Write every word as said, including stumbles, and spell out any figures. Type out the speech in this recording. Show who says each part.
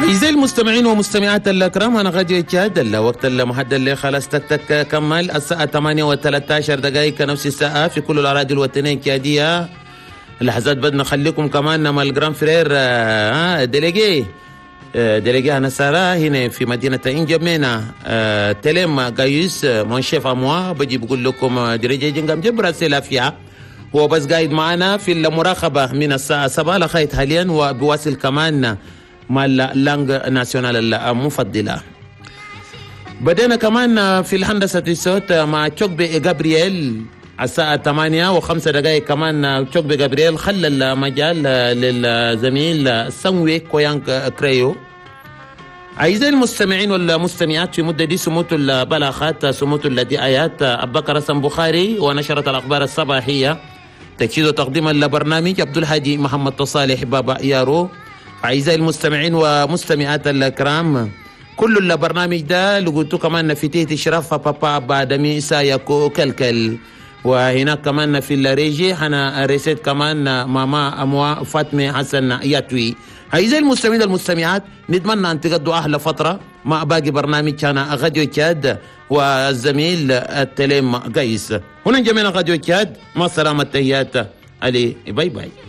Speaker 1: أعزائي المستمعين ومستمعات الأكرام، أنا غادي تشاد الوقت المحدد اللي خلاص تك تك كمل الساعة ثمانية وثلاثة عشر دقائق نفس الساعة في كل الأراضي الوطنية التشادية. لحظات بدنا نخليكم كمان مع ال grand frère آه délégué آه délégué أنا سارة هنا في مدينة إنجمينا آه تلم قايس mon chef à moi بجي بقول لكم درجة جنجم جبرة سلافيا. هو بس قاعد معنا في المراقبة من الساعة سبعة لغاية حاليا، وبواصل كمان مع ال langue nationale المفضلة. بدينا كمان في الهندسة الصوت مع تشوكبي جابرييل الساعة ثمانية وخمسة دقائق. كمان تشوكبي جابرييل خلى المجال للزميل سانوي كويانك كريو. أعزائي المستمعين والمستمعات، في مدة دي سموت البلاغات، سموت الدعايات، أبو بكر حسن بخاري ونشرة الأخبار الصباحية، تجهيز وتقديم البرنامج عبد الهادي محمد صالح بابا يارو. أعزائي المستمعين ومستمعات الكرام، كل البرنامج ده لقيتو كمان في تحت إشراف بابا بادمي سايكو كلكل، وهناك كمان في ال régie أنا ريسيت كمان ماما أموا فاطمة حسن ياتوي. أعزائي المستمعين والمستمعات، نتمنى أن تقضوا أحلى فترة مع باقي برنامج كان غاديو تشاد والزميل التليم قيس. هنا جميع غاديو تشاد، مع السلامة، تحيات علي، bye bye.